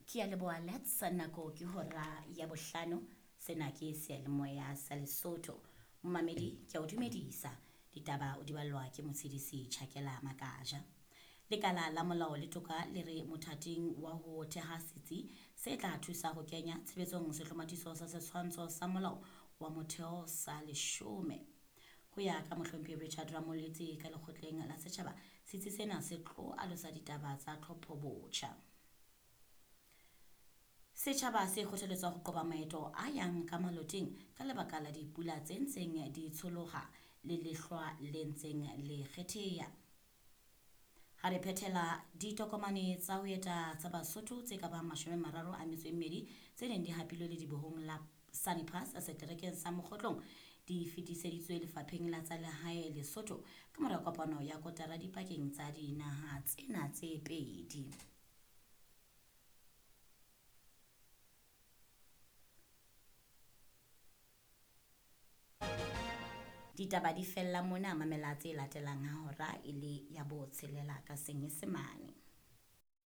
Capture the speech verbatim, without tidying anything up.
Ke a leboha Lets, nako ke hora ya bohlano. Sena ke seyalemoya sa Lesotho. Momamedi, ke a o dumedisa. Ditaba o di ballwa ke Motshedisi Chakela Makaja. Lekala la molao le toka le re mothating wa ho theha setsi se tla thusa ho kenya tshebetsong sehlomathiso sa setshwantsho sa molao wa motheo sa leshome. Ho ya ka mohlomphehi Richard Ramoletse ka lekgotleng la setjhaba, setsi sena se tlo alosa ditaba tsa tlhopho botjha. Setjhaba se kgothaletswa ho qoba maeto a yang ka maloteng ka lebaka la dipula tse ntseng di tsholoha le lehlwa le ntseng le kgetheha. Ha re phethela ditokomane tsa ho eta tsa Basotho tse ka bang mashome a mararo a metso e mmedi tse neng di hapilwe ledibohong la Sunny Pass seterekeng sa Mokgotlong di fetiseditswe lefapheng la tsa lehae Lesotho ka mora kopano ya kotara dipakeng tsa dinaha tsena tse pedi. Ditaba di fella mona, mamela tse latelang ha hora e le ya botshelela ka Senyesemane.